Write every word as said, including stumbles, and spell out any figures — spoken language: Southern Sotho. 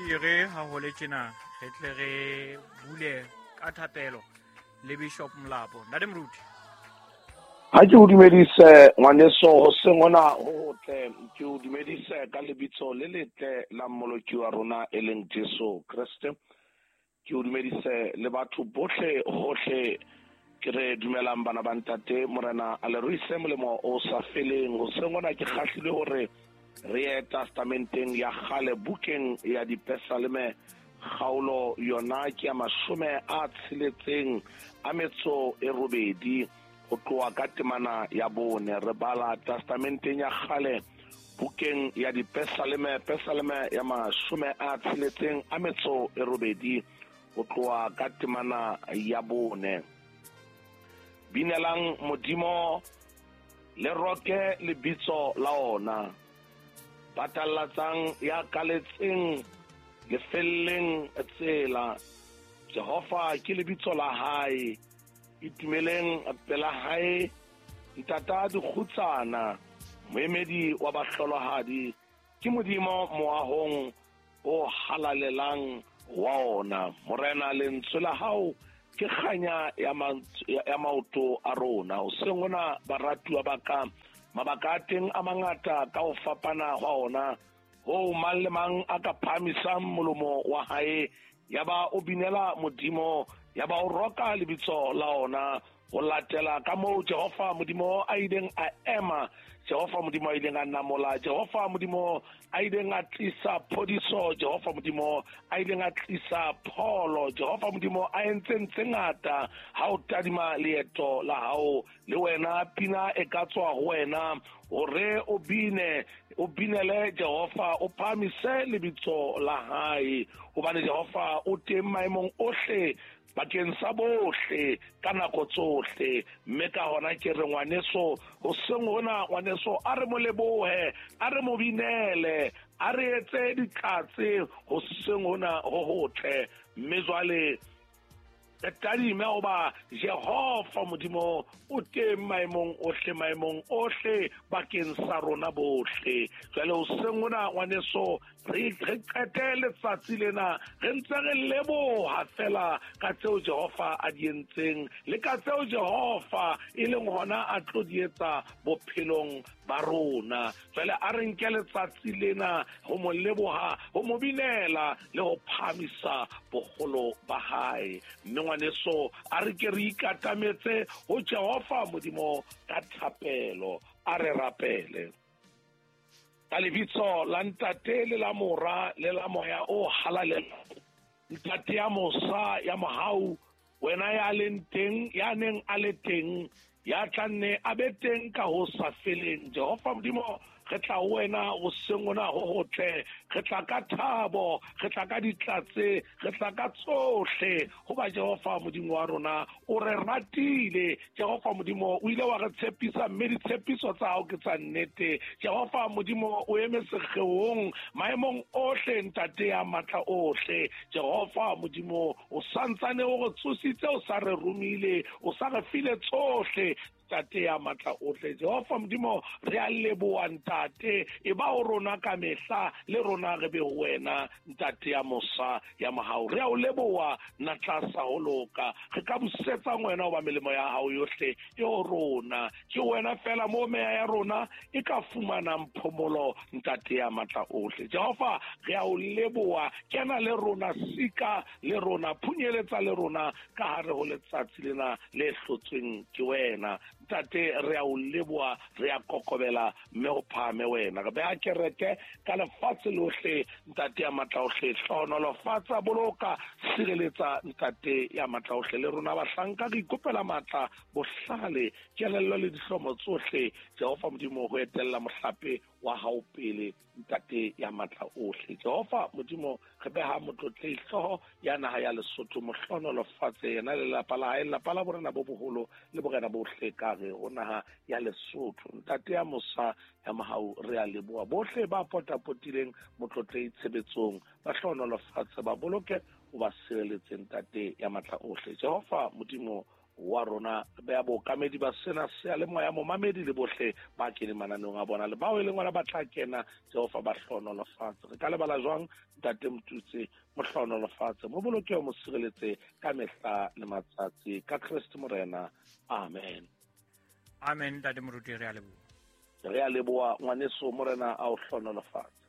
Ke re ha ho le tjena re tle re bule ka thapelo le Bishop Molapo. Ntate Moruti. Ha ke o dumedise ngwaneso hoseng hona ho hotle, ke o dumedise ka lebitso le letle la Mmoloki wa rona e leng Jesu Kreste. Ke o dumedise le batho bohle hohle, ke re dumelang bana ba ntate, Morena a le ruise molemo o sa feleng. Hoseng hona ke kgahlilwe hore re ye testamenteng ya kgale, bukeng ya Dipesaleme, kgaolo yona ke ya mashome a tsheletseng a metso e robedi, ho tloha ka temana ya bone. Re bala testamenteng ya kgale, bukeng ya Dipesaleme, Pesaleme ya mashome a tsheletseng a metso e robedi, ho tloha ka temana ya bone. Binelang Modimo le roke lebitso la ona, batallatsang ya kaletseng lefelleng tsela. Jehova ke lebitso la hae, itumeleng pela hae, ntata dikgutsana, moemedi wa bahlolohadi, ke Modimo moahong o halalelang wa ona. Morena, lentswe la hao ke kganya ya maoto a rona. Hoseng hona baratuwa ba ka, mabaka a teng a mangata ka ho fapana hwa ona, ho mang le mang a ka phahamisang molomo wa hae, ya ba o binela Modimo, ya ba o roka lebitso la ona, ho latela ka moo Jehova Modimo a ileng a ema, Jehova Modimo a ileng a namola, Jehova Modimo a ileng a tlisa phodiso, Jehova Modimo a ileng a tlisa pholo, Jehova Modimo a entseng tse ngata. Ha o tadima leeto la hao, le wena pina e ka tswa ho wena hore o bine, o binele Jehova, o phahamise lebitso la hae, hobane Jehova o teng maemong ohle bakeng sa bohle ka nako tsohle. Mme ka hona ke re ngwaneso, hoseng hona ngwaneso, a re mo lebohe, a re mo binele, a re etse ditlatse hoseng hona ho hotle. Mme jwale re tadime hoba Jehova Modimo o teng maemong ohle, maemong ohle bakeng sa rona bohle. Jwale hoseng hona ngwaneso, re re qete letsatsi lena re ntse re leboha fela ka tseo Jehova a di entseng le ka tseo Jehova e leng hona a tlo di etsa bophelong ba rona. Jwale a re nke letsatsi lena ho mo leboha, ho mo binela le ho phahamisa boholo ba hae. Mme ngwaneso, a re ke re ikatametse ho Jehova Modimo ka thapelo. A re rapele. Ka lebitso la Ntate le la Mora le la Moya o Halalelang, Ntate ya mosa ya mohau, wena ya leng teng, ya neng a le teng, ya tla nne a be teng ka ho sa feleng. Jehova Modimo, re tla ho wena hoseng hona ho hotle, re tla ka thabo, re tla ka ditlatse, re tla ka tsohle, hoba Jehova Modimo wa rona o re ratile. Jehova Modimo o ile wa re tshepisa, mme ditshepiso tsa hao ke tsa nnete. Jehova Modimo o eme sekgeong maemong ohle, Ntate ya matla ohle. Jehova Modimo o santsane o re tsositse, o sa re romile, o sa re file tsohle, Ntate ya matla ohle. Jehova Modimo, re a leboha Ntate, e ba ho rona ka mehla, le rona re be ho wena, Ntate ya mosa ya mohau. Re a o leboha natla sa ho loka, re ka busetsang wena hoba melemo ya hao yohle e ho rona. Ke wena fela mo meya ya rona e ka fumanang phomolo, Ntate ya matla ohle. Jehova, re a o leboha, kena le rona, sika le rona, phunyeletsa le rona ka hare ho letsatsi lena le hlotsweng ke wena. Ntate, re a o leboha, re a kokobela, mme ho phahame wena. Re beha kereke ka lefatshe lohle, Ntate ya matla ohle. Hlohonolofatsa, boloka, sireletsa, Ntate ya matla ohle. Le rona bahlanka re ikopela matla, bohlale, kelello le dihlomo tsohle, Jehova Modimo, ho etella mohlape wa hao pele, Ntate ya matla ohle. Jehova Modimo, re beha motlotlehi hlooho ya naha ya Lesotho, mohlohonolofatse yena le lelapa la hae, lelapa la borena bo boholo le borena bohle ka re ho naha ya Lesotho. Ntate ya mosa ya mohau, re a leboha bohle ba potapotileng motlotlehi tshebetsong, ba hlohonolofatse, ba boloke, o ba sireletse, Ntate ya matla ohle. Jehova Modimo, wa rona. Re beha bookamedi ba sena seyalemoya, momamedi le bohle ba keneng mananeong a bona le bao e leng ona ba tla kena, Jehova ba hlohonolofatse. Re ka lebala jwang Ntate Motutse? Mo hlohonolofatse, mo boloke, mo sireletse ka mehla le matsatsi, ka Kreste Morena. Amen. Amen, Ntate Moruti, re a leboha. Re a leboha ngwaneso, Morena a o hlohonolofatse.